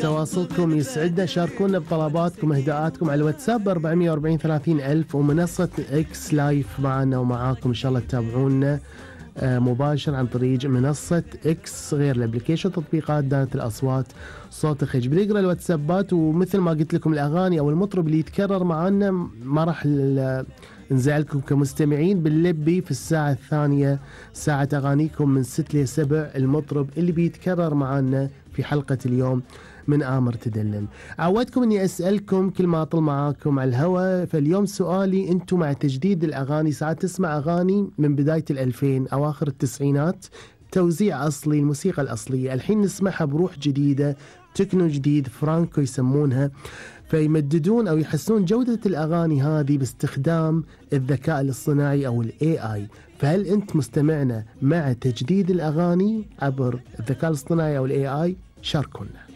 تواصلكم يسعدنا، شاركونا بطلباتكم واهداءاتكم على الواتساب 440 30 ألف، ومنصة إكس لايف معنا ومعاكم إن شاء الله تتابعونا مباشر عن طريق منصة إكس، غير الابليكيشن تطبيقات دانة الأصوات صوت خج. بنقرأ الواتسابات، ومثل ما قلت لكم الأغاني أو المطرب اللي يتكرر معنا ما راح نزعلكم كمستمعين، بنلبي في الساعة الثانية ساعة أغانيكم من 6 ل 7 المطرب اللي بيتكرر معنا في حلقة اليوم من آمر تدلل. عودتكم أني أسألكم كل ما أطل معاكم على الهواء، فاليوم سؤالي: أنتم مع تجديد الأغاني؟ ساعات تسمع أغاني من بداية 2000 أواخر التسعينات، توزيع أصلي، الموسيقى الأصلية، الحين نسمعها بروح جديدة، تكنو جديد، فرانكو يسمونها، فيمددون أو يحسنون جودة الأغاني هذه باستخدام الذكاء الاصطناعي أو AI. فهل أنت مستمعنا مع تجديد الأغاني عبر الذكاء الاصطناعي أو AI؟ شاركونا.